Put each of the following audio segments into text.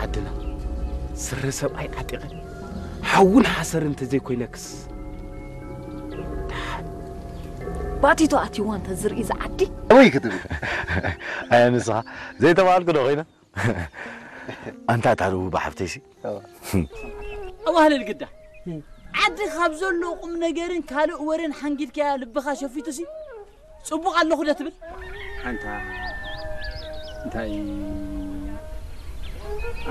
ዓድና ስረ ሰብኣይ ዓጢቐ ሓውን ሓሰር እንተዘይኮይነክስ። ባቲቶ ኣትይዋ እንተ ዝርኢ ዝዓዲ ወይ ክትብል ኣየ ንስኻ ዘይተባልኩ ዶ ኮይነ ኣንታ ታሩ ብሓፍተይሲ ኣዋህልል ግዳ ዓዲ ካብ ዘሎ ቁም ነገርን ካልእ ወረን ሓንጊድካያ ልብኻ ሸፊቱሲ ጽቡቕ ኣለኹ ዶ ትብል ኣንታ እንታይ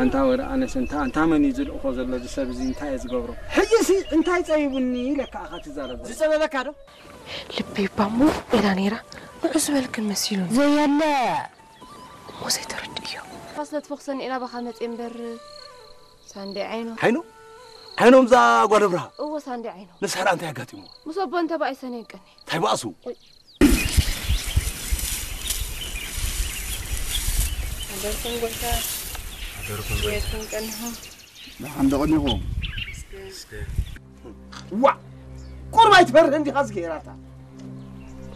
ኣንታ ወረ ኣነስ እንታ ኣንታ መን እዩ ዝልእኾ ዘሎ እዚ ሰብ እዚ እንታይ እየ ዝገብሮ ሕጂሲ እንታይ ጸቢቡኒ ኢለካ ኣኻ ትዛረብ ዝጸበበካ ዶ ልበይ ባሞ ኢላ ነይራ ንዑ ዝበልክን መሲሉኒ ዘየለ እሞ ዘይተረድእዮ። ፋስ ለትፈኽሰኒ ኢና ባኻ መጽ እምበር ሳንዴ ዓይኖ። ዓይኖ ዓይኖም ዛ ጓል ብርሃ። እዎ ሳንዴ ዓይኖ። ንስሕራ እንታይ ኣጋጢምዎ? ምስ ኣቦ እንተ ባኣይሰ ነይቀኒ። እንታይ ባእሱ? ኣደርኩም ጎይታ ኣደርኩም ጎይታ ቀንኹም። ደሓን ደቐኒኹም። ዋ ቁርባይ ትፈርህ እንዲኻ ዝገይራታ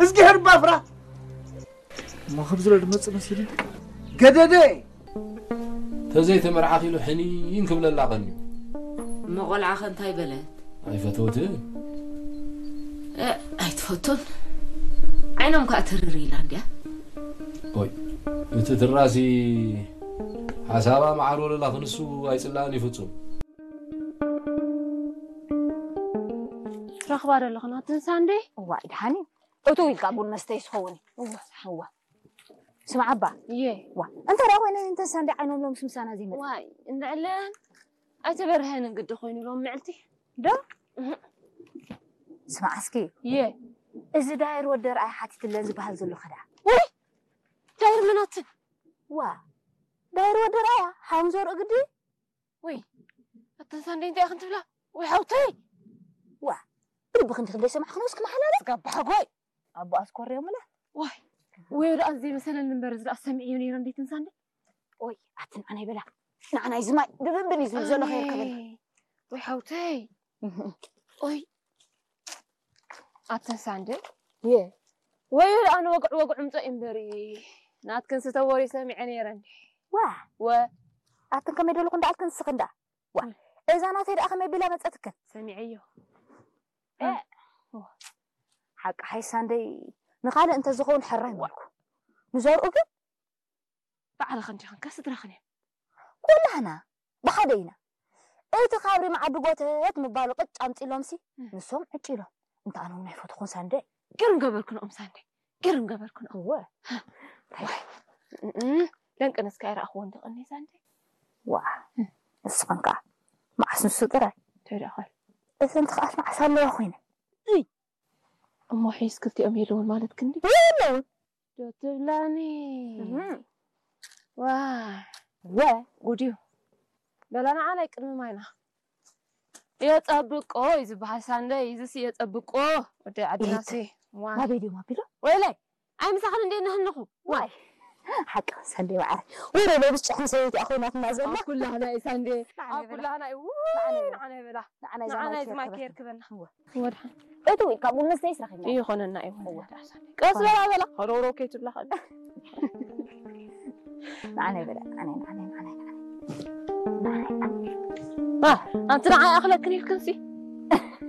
እዝጊሄር ባፍራ እሞ ክብዝሎ ድመጽእ መሲሉ ገደደ ተዘይተመርዓኺ ኢሉ ሕኒን ክብለላ ቀንዩ። እሞ ቆልዓኸ እንታይ በለት? ኣይፈተወትን። እ፣ ኣይትፈቱን? ዓይኖም ከኣ ትርር ኢላ እንድያ። ኦይ፣ እቲ ትራሲ ሓሳባ መዓር ወለላ ክንሱ ኣይጽላእን እዩ ፍጹም። ትረኽባ ዶ ኣለኽን ኣትን ሳንዴ? እዋይ ደሓን እዩ። እቱ ኢልካ ቡን መስተይስ ክኸውን እዩ። እዋ። ስምዓ እባ። እየ። ዋ እንተ ደኣ ኮይነ እንተንሳ እንደ ዓይኖም ሎምስ ምሳና ዘይመጽእ። ዋይ እንዕለን ኣይተበርሀንን ግዲ ኮይኑ ሎም ምዕልቲ። ዶ? ስምዓ እስኪ። እየ። እዚ ዳይር ወዲ ርኣይ ሓቲትለን ዝበሃል ዘሎ ከዳ። ውይ ዳይር መናትን። ዋ ዳይር ወዲ ርኣያ ሓም ዘርኡ ግዲ። ውይ ኣተን ሳንደይ እንታይ ኢኽን ትብላ? ውይ ሓውተይ። ዋ ብልቢ ክንዲ ክንደይ ሰማዕኽን እስኪ መሓላለ። ስጋብ ብሓጎይ። ኣቦ ኣስኮርዮምለ። ዋይ ወይ ደኣ ዘይመሰለኒ እምበር እዚ ደኣ ሰሚዐዮ ነይረ እንዴት እንሳንደ። ኦይ ኣቲ ንዓናይ በላ ንዓናይ ዝማይ ብብንብን እዩ ዝብል ዘሎ ከይርከበና። ወይ ሓውተይ። ኦይ ኣተን ሳንደ። የ ወይ ደኣ ንወግዕ ወግዕ ምጾ እምበሪ ናትክን ስተወሪ ሰሚዐ ነይረ እንዴ። ዋ ወ ኣትን ከመይ ደለኹ እንዳኣልክን ንስኽን ደኣ ዋ እዛ ናተይ ደኣ ከመይ ቢላ መጸትክን ሰሚዐዮ እ፣ ዋ። ሓቂ ሓይሳ እንደይ ንኻልእ እንተዝኸውን ሕራይ ምበልኩ ንዘርኡ ግን ባዕልኽን ዲኽን ከስድራኽን እየን ኩላህና ብሓደ ኢና እቲ ካብሪ መዓዲ ጎተት ምባሉ ቅጭ ኣምፂሎምሲ ንሶም ዕጭ ኢሎም እንተ ኣነ እውን ኣይፈትኹን ሳንደ ግርም ገበርክንኦም ሳንደ ግርም ገበርክንኦም እወ ዋይ እም፣ ደንቅንስ ከይረኣኽዎ እንተቐኒ ሳንደ ዋ ንስኽን ከዓ መዓስ ንሱ ጥራይ እንታይ ደኣ ኾን እዘን ትኽኣት መዓስ ኣለዋ ኮይነ እሞ ሒዝ ክልቲኦም የለውን ማለት ክንዲ የለውን ዶ ትብላኒ ዋ ወ ጉድ እዩ በላ ንዓ ናይ ቅድሚ ማይና የጸብቆ እዩ ዝበሃል ሳንደይ እዚስ የጸብቆ ወደ ዓድናሲ ዋ ናበይ ድዮም ኣቢሎም ወይለይ ኣይ ምሳኽን እንዴ ነህንኹ ዋይ ሓቂ ሰንደይ ማዕረ ወረ ለብስ ጭሕሚ ሰበይቲ ኣኾይናትና ዘላ ኣብ ኩላህና እዩ ሳንዴ ኣብ ኩላህና እዩ ውይ ንዓና ይበላ ንዓና ይበላ ንዓና ይዘማይ ንዓና ይዘማይ ከየርክበና ወድሓን እቱ ኢልካ ቡን መስተይስ ረኺብና ይኾነና እዩ ቀስ በላ በላ ከሮሮ ከይትብላ ከ ንዓና ይበላ ንዓና ንዓና ንዓና ኣንቲ ንዓይ ኣኽለክን ኢልክንሲ